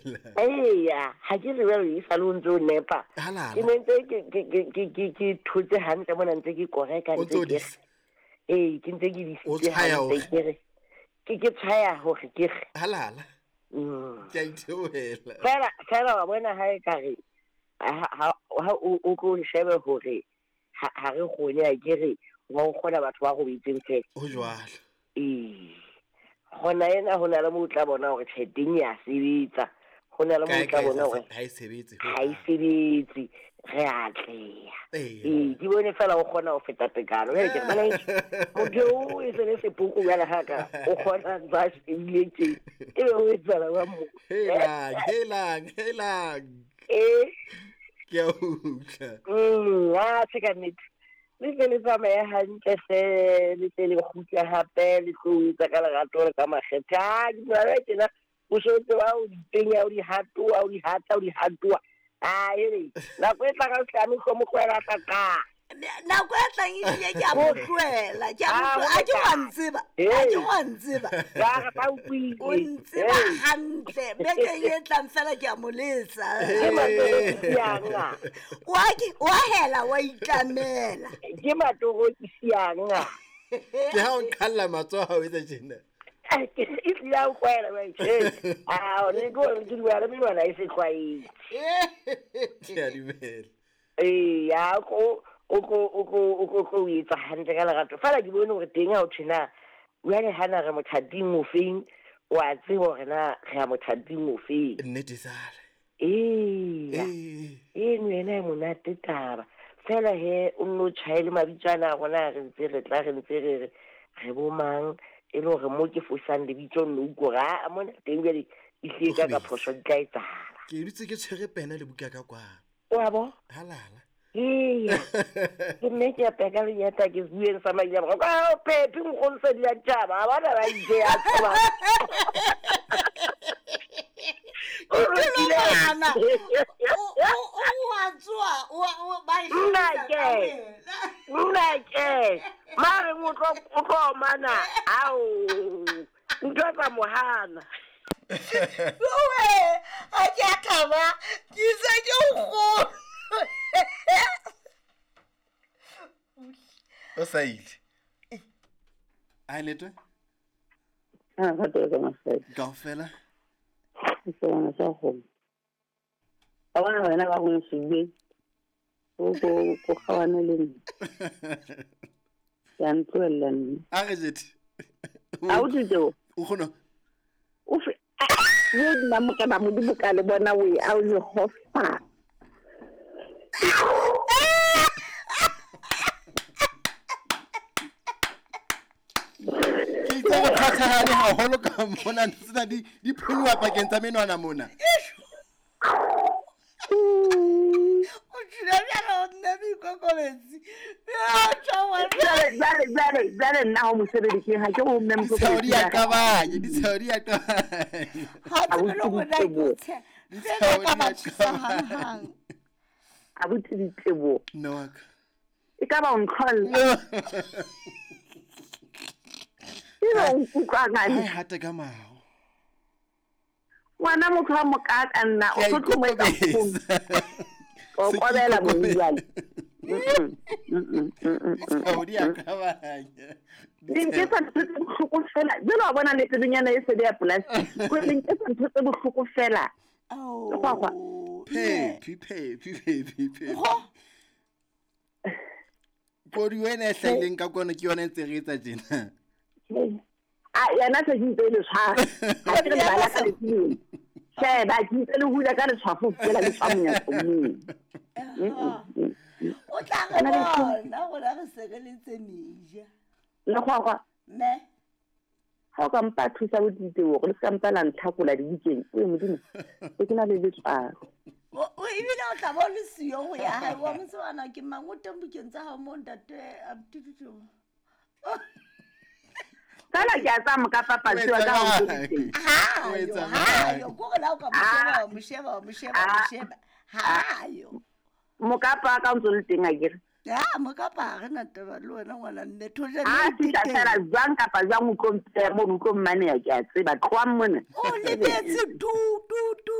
itebohela. Eya, ha ke re jwale e sale o ntse o nepa. Halala. Ke ne ntse ke thotse hantle mona ntse ke koreka O ntse ntso ke re. disa. Ee, ke ntse ke O disitse tshwaya hantle hore. ke re. Ke tshwaya hore ke re. Halala. Ke a itebohela. Fela fela wa bona ha e ka re ha o tlo shebe hore ha re kgone a ke re wa o kgona batho ba robetseng fela. Ho jwalo. Ee. Gona ena ho na le moo o tla bona hore tjhe teng ya sebetsa. Ho na le moo Kae o tla kae bona hore ha e sebetse ho ha e hang. sebetse, re atleha. Eya. Ee, ke bone fela o kgona ho feta tekano. Jwale ke re bana heso, motho eo e se le sepoko jwale ha ka o kgona ntse a shebile tje. Ebe ho etsahala jwang mo? Helang, helang, helang. Ee. Ke a utlwa. Atjhe ka nnete. Le tle le tsamaye hantle hle, le tle le kgutle hape, le tlo etsa ka lerato le ka makgethe. Ah, ke dumela tjena, o so tseba o di penya, o di hatoa, o di hata, o di hatoa. Ah, ere, nako e tlang ha o hlame hlomo tlohela tla qa. Nako e tlang ehlile ke a mo tlohela, ke a mo Ah, tlohela. A ke wa ntseba, a ke wa ntseba. Ka re ba utlwile. O ntseba Hey. hantle. Bekeng e tlang fela ke a mo letsa. Ke matorokisi a. Wa ke wa hela wa itlamela. Ke matorokisi a. Ke ha o nqhalla matsoho ha o etsa tjena. E hlile a o tlwaela wa tjhe. Ah, le ke hore ke dumela le menwana e se tlwaetse. Ke a dumela. Eya, o tlo etsa hantle ka lerato. Fela ke bone hore teng ha o thwe na, jwale hana re mothating o feng, wa tseba hore na re ya mothating o feng. Nnete sale. Eya. Ee. Eno yena e monate taba. Fela he o nno tjhaele mabitso ana a rona re ntse re tla re ntse re re re bo mang e le hore mo ke fosang lebitso nno utlwe hore aa mona teng jwale ehlile ka phoso di tla etsahala. Ke dutse ke tshwere pena le buka ka kwano. Wa bo? Halala. Eya. Ke nne ke apeya ka lenyata ke bueng sa maile a boraro. Ka Phephi nkgono se di a tjhaba, ha bana ba itse ya tshoba. Ke tlo bana. O wa tsoha, o ba e Nna hlahisa ke. ka wena. Nna ke. Mare o tlo omana. Ao. Ntho tsa mohana. Owe, ha ke a thaba, ke se ke o kgolo. O sa ile. Ai letwe? Ah, ka tlo ka mafela. Kaofela. Ke bona sa go. Ba bona wena ba go sebeng. O ko kgawana le nna. Ke a ntlohella nna. A re jete. A o Titeo? O kgona. O fe yo nna mokana modimo ka le bona o e a o Jehova. Ke itse re phathahane haholo ka mona ntho tsena di phunngwa pakeng tsa menwana mona. O tjhula bjalo o nna boikokobetsi. Ya, tjho wa Jwale nna ho mosebediseng ha ke ho mme Ditsheo di a qabanya, ditsheo di a qabanya. Ha tsebe le hore na ke o tsheha. Ditsheo Fela ka di ba a thusa qabanya. hanghang. Abuti Diteboho. Mme wa ka. E ka ba o ntlholla. Ebe o nkutlwa Ha e ngane. hate ka maho. Ngwana motho wa mokaka nna Ke a o tlo mo etsa nkgono. ikokobetsa. O Se ke kobela ikokobetsa. jwale. Ditsheo di a qabanya. Le nketsa ntho tse bohloko fela. Jwale wa bona le tsebenyana e sebe ya plastic. Ko le nketsa ntho tse bohloko fela. Ao. Lekgwakgwa. Phephi, phephi, phephi, phephi. Ho. Kodi wena e hlahileng ka kwano ke yona e ntse re etsa tjena. A yena se ke ntse e le tshwara. Ha ke re bala ka letshwele. Sheba ke ntse le hula ka letshwafo fela le tswa monyako moo. O tla re bona rona re sireletse meja. Lekgwakgwa. Mme. Ha o ka mpa thusa bo Diteboho le se ka mpa la ntlhakola dibukeng. Oe Modimo, e ke na le letswalo. O ebile o tla bo le siyo ho ya hae. Wa mo tseba na ke mang o teng bukeng tsa hao moo ntate Abdul. Fela ke a tsaya mokapa patsi wa ka ho ntse. Hayo, O etsa hayo, mang? ko re la o ka mo sheba, wa mo sheba, wa mo sheba, wa mo sheba. Hayo. Mokapa wa ka o ntso le teng akere. Ya, mokapa ha re na taba le wena ngwana mme thojane Ha e fihla teng. fela jwang kapa jwang o tlo mpeha mono, o tlo mmaneha ke a tseba. Tlohang mona. O lebetse tu tu tu.